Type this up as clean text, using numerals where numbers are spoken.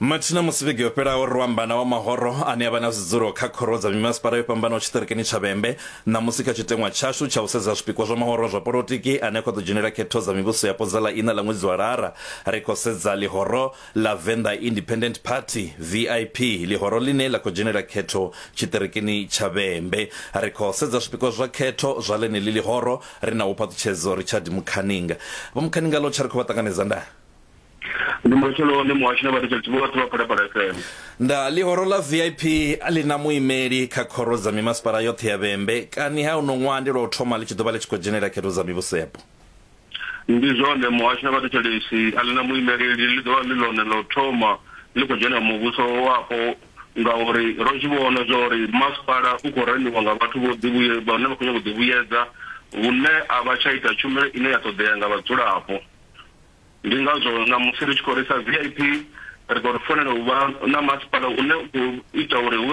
Mathina musi vhege yo fhelaho ro amba na wa mahoro ane a vha na zwidzulo kha khoro dza mimasipala yo fhambanaho tshiṱirikini tsha Vhembe. Ṋamusi kha tshiteṅwa tshashu tsha u sedza zwipikwa zwa mahoro a zwa polotiki ane a khou ḓo dzhenela khetho dza mivhuso yapo dza ḽa iṋa ḽa ṅwedzi wa Lara, ri khou sedza ḽihoro ḽa Venḓa Independent Party, VIP, ḽihoro ḽine ḽa khou dzhenela khetho tshiṱirikini tsha Vhembe. Ri khou sedza zwipikwa zwa khetho zwa ḽeneḽi ḽihoro ri na Vho-Phaṱhutshedzo Richard Mukhaninga. Vho Mukhaninga ḽo tsha ri khou vha ṱanganedza ndaa. Ndi matsheloni muhashi na vhathetshelesi vhoṱhe vha Phalaphala FM. Nda ḽihoro ḽa VIP ḽi na muimeli kha khoro dza mimasipala yoṱhe ya Vhembe. Kani ha uno ṅwaha ndi lwa u thoma ḽi tshi ḓo vha ḽi tshi khou dzhenela khetho dza mivhuso yapo? Ndi zwone muhashi na vhathetshelesi, a ḽi na muimeleli, ḽi ḓo vha ḽi ḽone ḽa u thoma ḽi khou dzhena muvhuso wapo ngauri ro zwi vhona zwa uri masipala u khou raniwa nga vhathu vho ḓivhuye vhane vha khou nyanga u ḓivhuyedza hune a vha tsha ita tshumelo ine ya ṱoḓea nga vhadzulapo. Ndi ngazwo ṋamusi ri tshi khou ri sa VIP ri khou ri fanela u vha na masipala une u khou ita uri hu vhe.